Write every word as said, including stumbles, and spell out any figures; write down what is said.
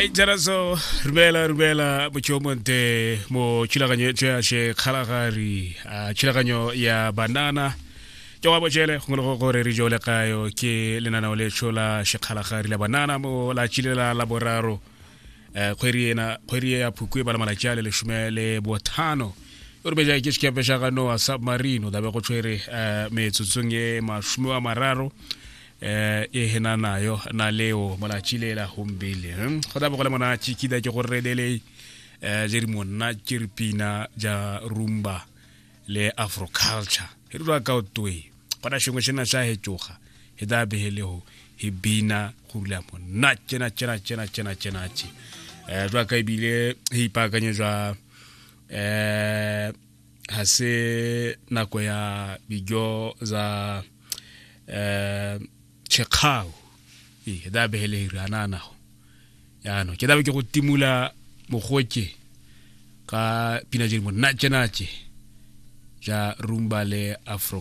Hai jaraso rumela rumela motho mo thulaganyo ya Shekgalagadi, a thulaganyo ya banana ke wa botšele gongwe le go gore re jole kayo ke lenaneo le tshola Shekgalagadi la banana mo la tšilela la boraro eh kgwedi ena kgwedi ya Phukwi e bala malatši a le lesome le bothano o re beja ke sekepe sa ga Noah submarine o dabe go tshwere eh metsotsong ye masome a mararo eh e hena nayo na leo molatši le la gombele go dabe go le monatši ke da ke go redele eh je re monna ke re pina ja rumba le afro culture e rura ka o toe gona shengwe sena sa hetšoga he da behele ho he bina go rula monna tjena tjena tjena tjena tjena tje eh jwa ka ebile he ipaakanyetswa eh ha se nako ya dijo za eh tšhekgao ee da behele re anana go yaanong ke dabe ke go timula mogoke ka pina tše di monatšenatše ja rumba le afro.